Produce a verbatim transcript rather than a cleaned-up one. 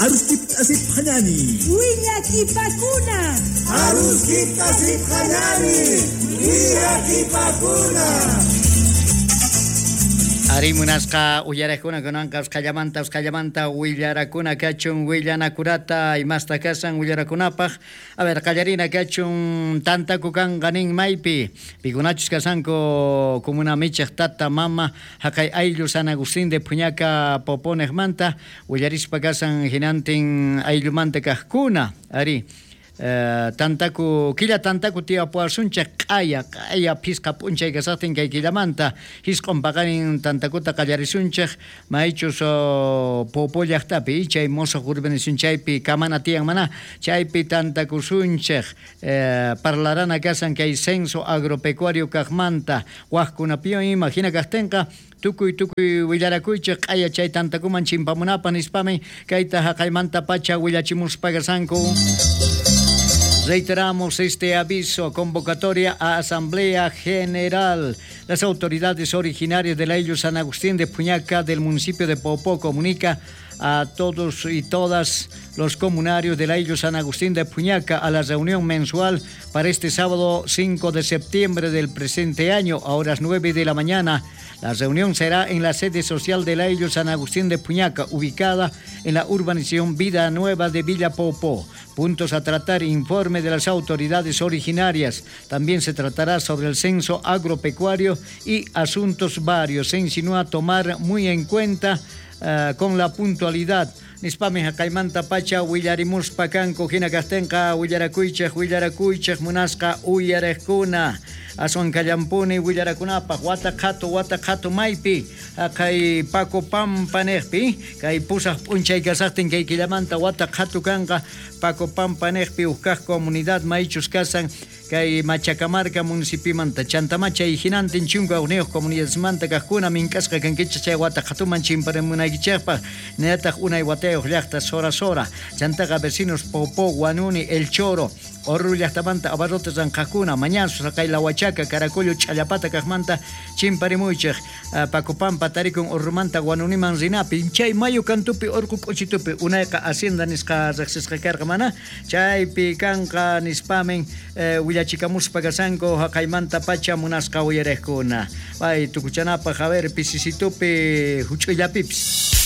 Aruskip asip hanani. Willakipakuna. Aruskip asip hanani. Willakipakuna. Ari munasqa uyarakuna kunanqa usqallamanta usqallamanta willarakuna kachun willanakurata imasta kasan willarakunapaq. A ver, qallarina kachun tantaku kanqa nin maypi pikunachus kasanku comuna michej tata mama haqay ayllu San Agustín de Puñaca Poponejmanta willarispa kasan hinantin ayllumanta kajkuna. Ari Uh, tantaku killa tantaku tiyapuwasunchik q'aya q'aya phisqa p'unchay kasaqtin kay killamanta hisq'un paqarin tantakuta qallarisunchik maychus uh, Popo llaqtapi chay mosoq urbanización chaypi kamana tiyan mana chaypi tantakusunchik uh, parlarana kasan kay censo agropecuario kaqmanta waqkunapiwan ima hina kaqtinqa tukuy tukuy willarakuychik q'aya chay tantakuman chimpamunapaq nispami kayta haqaymanta pacha willachimuspa kasanku. Reiteramos este aviso, convocatoria a Asamblea General. Las autoridades originarias del Ayllu San Agustín de Puñaca del municipio de Popó comunica a todos y todas los comunarios del Ayllu San Agustín de Puñaca a la reunión mensual para este sábado cinco de septiembre del presente año a horas nueve de la mañana. La reunión será en la sede social del Ayllu San Agustín de Puñaca, ubicada en la urbanización Vida Nueva de Villa Popó. Puntos a tratar: informe de las autoridades originarias. También se tratará sobre el censo agropecuario y asuntos varios. Se insinúa tomar muy en cuenta uh, con la puntualidad. Nispami haqaymanta pacha willarimuspa kanku hina kaqtinqa willarakuychej willarakuychej munasqa uyariqkuna aswan kallampuni willarakunapaq wata qhatu wata qhatu maypi haqay Paco Pampa niqpi kay pusaq p'unchay kasaqtin kay killamanta wata qhatu kanqa Paco Pampa niqpi huk kaq comunidad maychus kasan kay Machacamarca municipimanta chantama chay hinantin chunka hukniyuq comunidadmanta kaqkuna mink'asqa kankichik chay wata qhatuman chimparimunaykichikpaq hinallataq unay watayuq llaqta Sora Sora chantaqa vecinos Popó, Guanuni, El Choro, Orru llaqtamanta abarrotes ranqaqkuna Mañazo, haqay La Huachaca, Caracollo, Ch'allapata kaqmanta chimparimuychik Paco Pampa tarikun Orrumanta Guanuniman rinapi chay mayu kantupi urqu k'uchitupi unayqa hacienda nisqa riqsisqa karqa mana chaypi kanqa nispamin eh, willachikamuspa kasanku haqaymanta pacha munasqa uyariqkuna. Pay tukuchanapaq a ver pisisitupi huch'uyllapipis.